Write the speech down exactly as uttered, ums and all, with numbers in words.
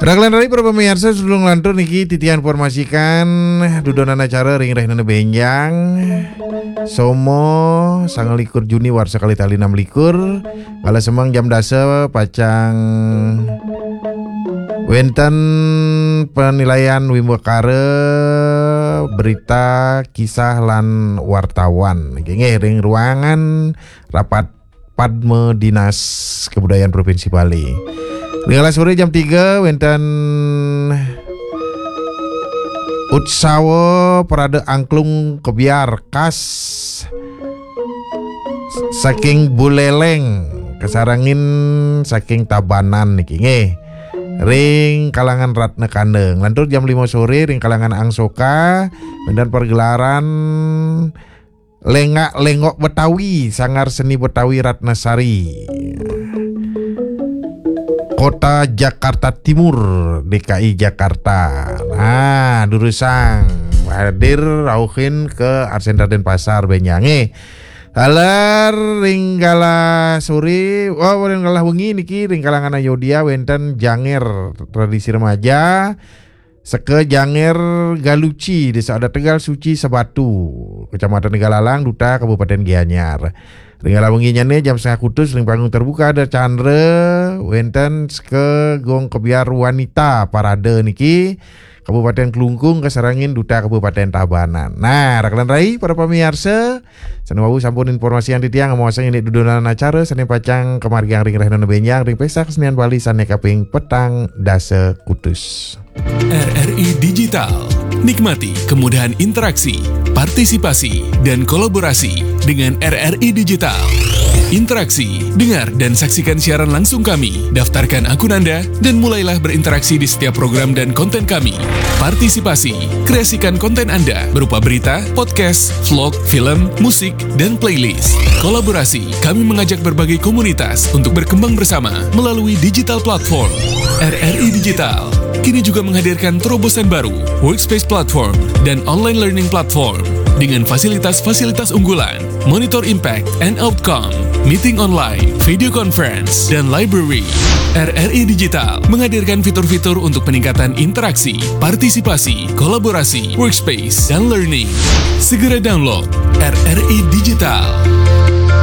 Raglan rai para pamiarsa, sadurung lantur niki titiang informasikan dudonan acara ring rahinane benjang. Somo sangalikur Juni warsa kalih tali enam likur. Kala semeng jam dasa pacang wenten penilaian wimbakara berita, kisah lan wartawan. Nggih, ring ruangan rapat Padma Dinas Kebudayaan Provinsi Bali. Ring kala sore jam tiga wenten Utsawa Parade Angklung Kebyar khas saking Buleleng, kasarengin saking Tabanan niki nggih. Ring kalangan Ratna Kanda. Nglantur jam lima sore ring kalangan Angsoka, wenten pergelaran Lengak Lengok Betawi, Sanggar Seni Betawi Ratnasari, Kota Jakarta Timur, D K I Jakarta. Nah, durusang hadir rauhin ke Arsendra Denpasar benjange. Taler ring kala sore, oh, ring kala wengi niki ring kalangan Ayodya wenten janger tradisi remaja. Seka Janger Galuci, Desa Adat Tegal Suci Sabatu, Kecamatan Tegalalang, Duta Kabupaten Gianyar. Ring kala wenginyane jam setengah kutus ring panggung terbuka ada Chandra, wenten Seka Gong Kebyar Wanita Parade niki, Kabupaten Klungkung, kasarengin Duta Kabupaten Tabanan. Nah, raglan rai para pamiarsa, sane wau sampun informasian titiang, amosan indik dudonan acara sane pacang kamargiang ring rahinane benjang ring Pesta Kesenian Bali sane kaping petang dasa kutus. R R I Digital. Nikmati kemudahan interaksi, partisipasi, dan kolaborasi dengan R R I Digital. Interaksi, dengar dan saksikan siaran langsung kami. Daftarkan akun Anda dan mulailah berinteraksi di setiap program dan konten kami. Partisipasi, kreasikan konten Anda berupa berita, podcast, vlog, film, musik, dan playlist. Kolaborasi, kami mengajak berbagai komunitas untuk berkembang bersama melalui digital platform. R R I Digital kini juga menghadirkan terobosan baru, Workspace Platform dan Online Learning Platform dengan fasilitas-fasilitas unggulan, Monitor Impact and Outcome, Meeting Online, Video Conference, dan Library. R R I Digital menghadirkan fitur-fitur untuk peningkatan interaksi, partisipasi, kolaborasi, workspace, dan learning. Segera download R R I Digital.